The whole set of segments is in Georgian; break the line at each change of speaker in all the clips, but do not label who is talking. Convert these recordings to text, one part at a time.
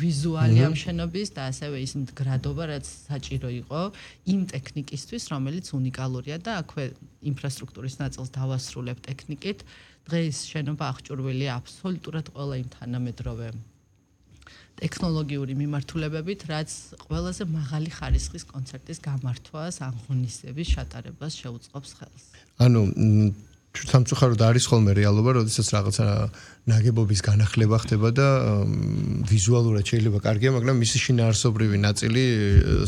ვიზუალი ამ შენობის და ასევე ის მდგრადობა, რაც საჭირო იყო იმ ტექნიკისთვის, რომელიც უნიკალურია და აქვე ინფრასტრუქტურის ნაწილს დავასრულებ ტექნიკით. დღეს შენობა აღჭურვილია აბსოლუტურად ყველა იმ თანამედროვე ტექნოლოგიური მიმართულებებით, რაც ყველაზე მაღალი ხარისხის კონცერტის გამართვას, აღონისების ჩატარებას შეუწყობს ხელს.
ანუ სამწუხაროდ არის ხოლმე რეალობა, როდესაც რაღაცა ნაგებობის განახლება ხდება და ვიზუალურად შეიძლება კარგია, მაგრამ მისი შინაარსობრივი ნაწილი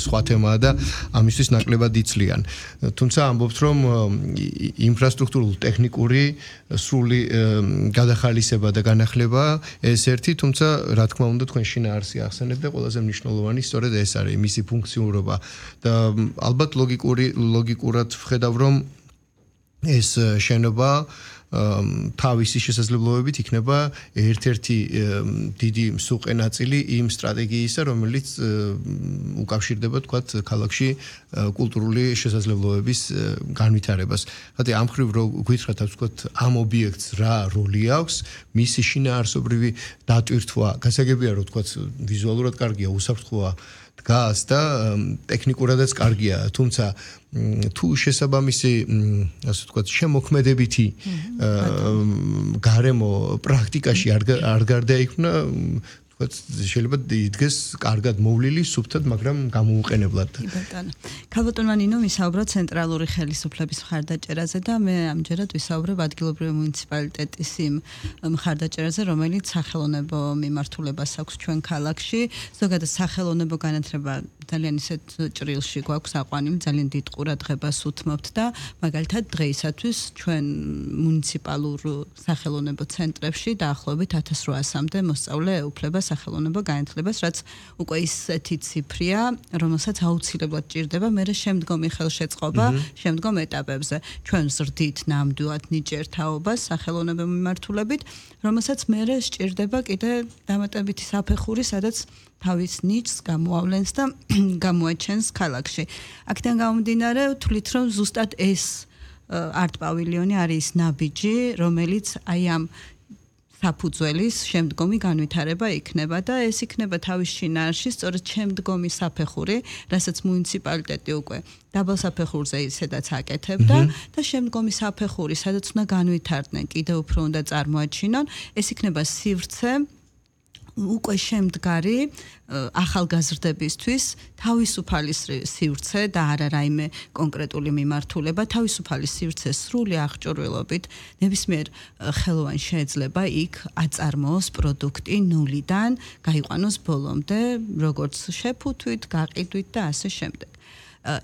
სხვა თემაა და ამისთვის ნაკლებად იცლიან. თუმცა ამბობთ, რომ ინფრასტრუქტურულ ტექნიკური სრული გადახალისება და განახლება ეს ერთი, თუმცა რა თქმა უნდა თქვენ შინაარსი ახსენეთ და ყველაზე მნიშვნელოვანი სწორედ ეს არის მისი ფუნქციურობა და ალბათ ლოგიკურად ვხედავ, რომ ეს შენობა თავისი შესაძლებლობებით იქნება ერთ-ერთი დიდი მსუყე ნაწილი იმ სტრატეგიისა, რომელიც უკავშირდება თქვათ ქალაქში კულტურული შესაძლებლობების განვითარებას. ხათი ამ მხრივ რო გითხრათ, თქვათ ამ ობიექტს რა როლი აქვს, მისი შინაარსობრივი დატვირთვა, გასაგებია რომ თქვათ ვიზუალურად კარგია, უსაფრთხოა დგას და ტექნიკურადაც კარგია, თუმცა თუ შესაბამისი, ასე ვთქვათ, შემოქმედებითი გარემო პრაქტიკაში არ გარდაიქმნა, ვთქვათ, შეიძლება იდგეს კარგად მოვლილი, სუფთად, მაგრამ გამოუყენებლად.
კი ბატონო. ქალბატონმა ნინო ვისაუბროთ ცენტრალური ხელისუფლების მხარდაჭერაზე და მე ამჯერად ვისაუბრებ ადგილობრივი მუნიციპალიტეტის იმ მხარდაჭერაზე, რომელიც სახელოვნებო მიმართულებას აქვს ჩვენ ქალაქში. ზოგადად სახელოვნებო განათლება ძალიან ისეთ ჭრილში გვაქვს აყვანილი, ძალიან დიდ ყურადღებას უთმობთ და მაგალითად დღეისათვის ჩვენ მუნიციპალურ სახელოვნებო ცენტრებში დაახლოებით 1800-მდე მოსწავლე ეუფლება სახელოვნებო განათლებას, რაც უკვე ისეთი ციფრია, რომელსაც აუცილებლად ჭირდება მერე შემდგომი ხელშეწყობა შემდგომ ეტაპებზე. ჩვენ ვზრდით ნამდვილად ნიჭიერ თაობას სახელოვნებო მიმართულებით, რომელსაც მერე სჭირდება კიდე დამატებითი საფეხური, სადაც თავის ნიჭს გამოავლენს და გამოაჩენს ქალაქში. აქედან გამომდინარე, ვთვლით, რომ ზუსტად ეს არტ პავილიონი არის ნაბიჯი, რომელიც აი ამ საფუძველის შემდგომი განვითარება იქნება და ეს იქნება თავის შინაარსში სწორედ შემდგომი საფეხური, რასაც მუნიციპალიტეტი უკვე დაბალ საფეხურზე ისედაც აკეთებდა და შემდგომი საფეხური, სადაც უნდა განვითარდნენ, კიდევ უფრო უნდა წარმოაჩინონ, ეს იქნება სივრცე უკვე შემდგარი ახალგაზრდებისთვის თავისუფალი სივრცე და არა რაიმე კონკრეტული მიმართულება, თავისუფალი სივრცე სრული აღჭურვილობით ნებისმიერ ხელოვან შეიძლება იქ აწარმოოს პროდუქტი ნულიდან, გაიყვანოს ბოლომდე, როგორც შეფუთვით, გაყიდვით და ასე შემდეგ.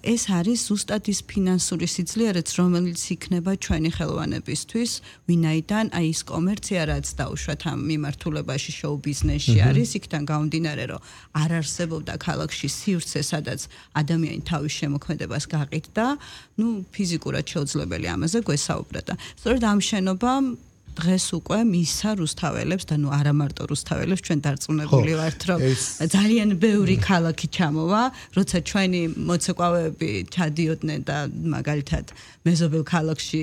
ეს არის ზუსტად ის ფინანსური სიძლიერეც, რომელიც იქნება ჩვენი ხელოვანებისთვის, ვინაიდან აი ის კომერცია, რაც დაუშვათ ამ მიმართულებაში, შოუ ბიზნესში არის, იქიდან გამომდინარე, რომ არ არსებობდა ქალაქში სივრცე, სადაც ადამიანი თავის შემოქმედებას გაყიდდა, ფიზიკურად შეუძლებელი ამაზე გვესაუბრა და სწორედ ამ შენობამ დღეს უკვე მისცა რუსთაველებს და არა მარტო რუსთაველებს, ჩვენ დარწმუნებული ვართ, რომ ძალიან ბევრი ქალაქი ჩამოვა, როცა ჩვენი მოცეკვავეები ჩადიოდნენ და მაგალითად მეზობელ ქალაქში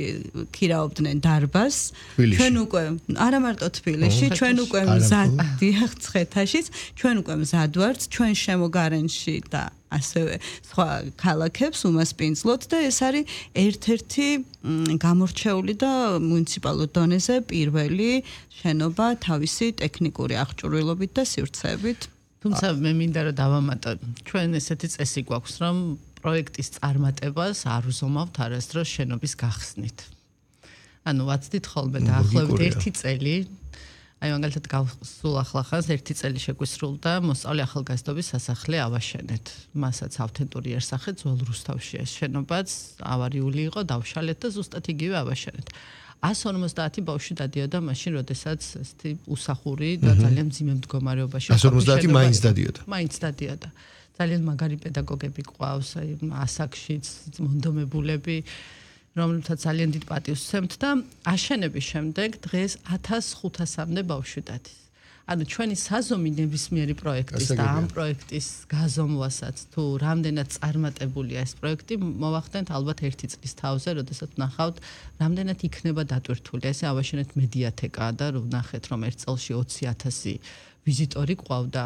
ქირაობდნენ დარბაზს, ჩვენ უკვე არა მარტო თბილისში, ჩვენ უკვე მზადდიახ ცხეთაშიც, ჩვენ უკვე მზად ვართ, ჩვენ შემოგარენში და ასევე სხვა ქალაქებს უმასპინძლოთ და ეს არის ერთ-ერთი გამორჩეული და მუნიციპალურ დონეზე პირველი შენობა თავისი ტექნიკური აღჭურვილობით და სივრცეებით.
თუმცა მე მინდა რომ დავამატო, ჩვენ ესეთი წესი გვაქვს, რომ პროექტის წარმატებას არ უზომავთ არასდროს შენობის გახსნით. ანუ ვაცდით ხოლმე დაახლოებით 1 წელი აი მაგალითად გავსულ ახლახანს 1 წელი შეგვისრულდა მოსწავლე ახალგაზრდობის სასახლე ავაშენეთ. მასაც ავთენტური იერსახე ძველ რუსთავში ეს შენობაც ავარიული იყო, დავშალეთ და ზუსტად იგივე ავაშენეთ. 150 ბავშვი დადიოდა მაშინ, როდესაც ესეთი უსახური და ძალიან მძიმე მდგომარეობაში
150 მაინც დადიოდა.
მაინც დადიოდა. ძალიან მაგარი პედაგოგები ყავს, აი ასაკშიც მონდომებულები, რომელთაც ძალიან დიდ პატივს ვცემთ და აშენების შემდეგ დღეს 1500-მდე ბავშვი დადის. ანუ ჩვენი საზომი ნებისმიერი პროექტის და ამ პროექტის გაზომვასაც თუ რამდენად წარმატებულია ეს პროექტი, მოვახდენთ ალბათ 1 წლის თავზე, როდესაც ნახავთ, რამდენად იქნება დატვირთული. ესე ავაშენეთ მედიათეკა და ვნახეთ, რომ ერთ წელში 20,000 ვიზიტორი ყავდა.